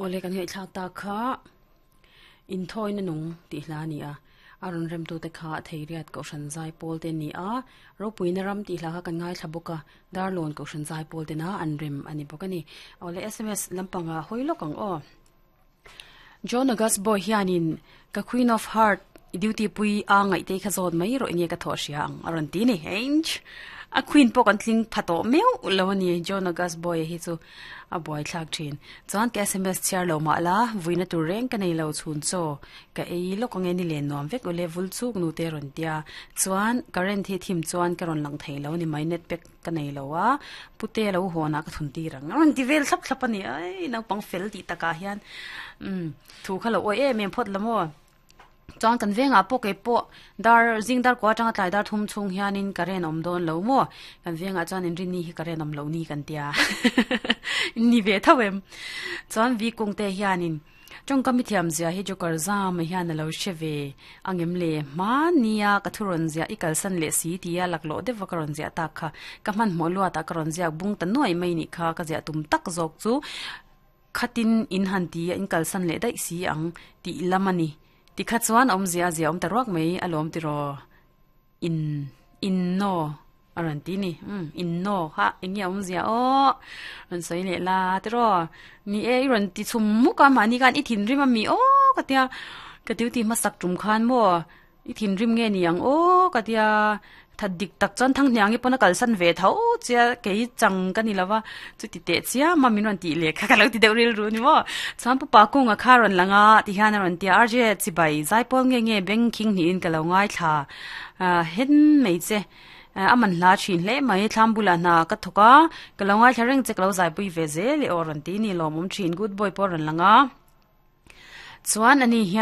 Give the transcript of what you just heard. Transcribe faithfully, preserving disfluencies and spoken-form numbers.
Ole kan ngai thlak ta kha in thoi na nung ti hla ni a aron rem tu te kha theiriat ko shan zai pol te ni a ropui na ram ti hla kha kan ngai thlabuka darlon ko shan zai pol te na an rem ani bokani ole sms lampanga hoilokang o John August boy hianin ka Queen of Heart duty pui a ngai te kha zot mai ro nge ka tho siang aron ti ni henge a queen po kan tling phato meu lo ni John August boy hi chu a boy thlak thin chuan ka sms chiar lo ma la vuina tur reng ka nei lo chhun cho ka ei lo ko nge ni len nom vek ole vul chuk nu te ron tia chuan current hi thim chuan ka ron lang thei lo ni mai net pek ka nei lo a pute lo ho na ka thun ti rang ron ti vel thlap thlap ani ai nau pang fel ti taka hian um thu kha lo oi em em phot lamo chuan kan venga po ke po dar jing dar kwa tanga tlai dar thum chung hianin karen om don lo mo kan venga chuan in rini hi karen om lo ni kan tia ni ve thawem chuan vi kung te hianin chong kami thiam zia hi jokar zam hian lo sheve angem le ma nia kathuron zia ikal san le si tia laklo de vakaron zia ta kha kaman mo lua ta karon zia bung ta noi mai ni kha ka zia tum tak zok chu khatin in han ti in kal san le dai si ang ti lamani ti kha chuan om zia zia om taruak mai alom ti ro in in no aran ti ni um in no ha enge om zia o ron soi le la ti ro ni e ron ti chum mu ka ma ni kan i thin rim ami o ka tia ka tiu ti ma sak tum khan mo i thin rim nge ni ang o ka tia thật dik tak chuan thang hniang i pawna kalsan ve tho chia kei chang ka ni lova chu ti te chia ma min ron ti le kha ka lo ti deuh ril ru ni mo chuan pu pa kung a kha ron langa ti hian a ron tia arje chi bai zai pawl nge nge beng khing niin ka lo ngai thla hen mai che aman hla thin hle mai thlam bula hna ka thoka ka lo ngai thla reng che ka lo zai pui ve zel i aw ron ti ni lawmawm thin good boy pawh ron langa chuan ani hian